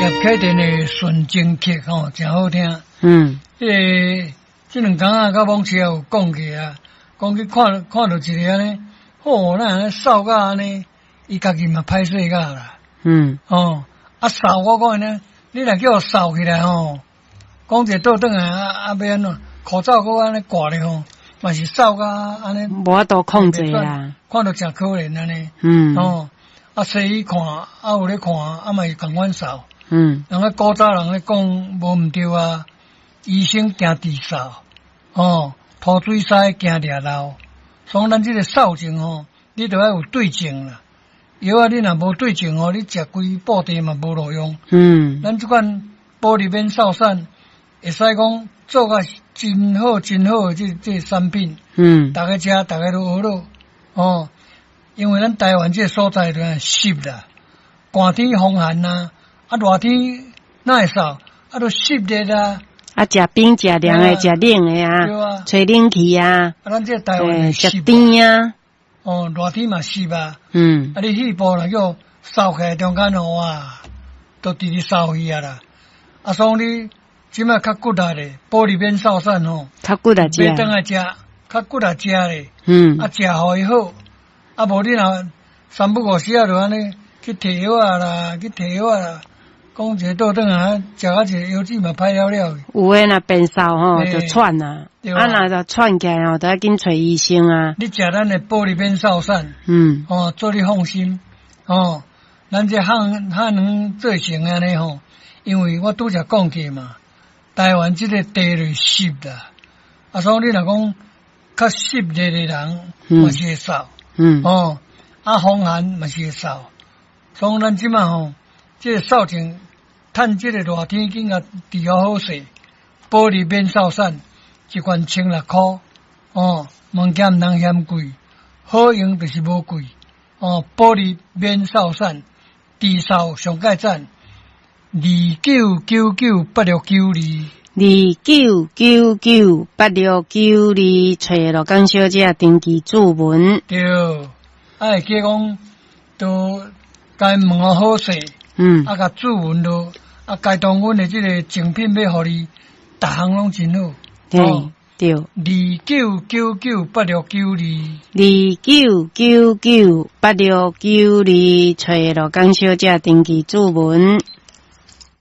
葉啟田的《純情曲》吼，誠好聽。彼個這兩工仔，佮網車有講過啊，講去看看著一個按呢，吼，哪按呢瘦甲按呢，伊家己嘛歹勢甲啦。哦，啊瘦我講呢，你若叫我瘦起來吼，講一個倒轉來啊啊欲按怎？口罩閣按呢掛咧吼，嘛是瘦甲按呢。無法度控制啊。看著誠可憐按呢。哦，啊西醫看，啊有咧看，啊嘛是仝款瘦。人咧古早人咧講無毋對啊，醫生驚治瘦，哦，塗水師驚掠漏，所以咱這個瘦症吼，你著愛有對症啦。藥仔你若無對症吼，你食規布袋嘛無路用。咱這款保利免瘦散，會使講做甲真好真好的這產品。逐家食，逐家都學咯。哦，因為咱台灣這個所在就濕啦，寒天風寒啊，啊熱天哪會瘦？啊都濕熱啊。啊，食冰食涼的，食冷的啊，吹冷氣啊。啊，咱這台灣食甜啊。哦，熱天嘛濕啊。啊，你肺部若叫燥起來中間吼啊，都直直瘦去啊啦。啊，所以你這擺較骨力的，保利免瘦散吼，較骨力食。欲轉來食，較骨力食咧。啊，食予伊好。啊，無你若三不五時啊，就按呢去提藥仔啦，去提藥仔啦。講一個倒轉來，食啊一個藥劑嘛歹了了。有的若變瘦吼，就喘啊。啊，若就喘起來吼，就愛緊揣醫生啊。你食咱的保利免瘦散，哦，做你放心，哦，咱這漢漢方做成按呢吼，因為我拄才講過嘛，台灣這個地咧濕啦，啊，所以你若講較濕熱的人，嘛是會瘦，哦，啊，風寒嘛是會瘦，所以咱這擺吼，這個瘦症，趁這個熱天緊共治好好勢，保利免瘦散，一罐16塊，哦，物件毋通嫌貴，好用就是無貴，哦，保利免瘦散，治瘦上蓋讚，29998692，29998692，揣羅江小姐登記注文。對，啊會記講，都共問好勢。啊，共注文囉，啊，該當阮的這個贈品欲予你，逐項攏真好。對對。29998692。29998692，揣羅江小姐登記注文。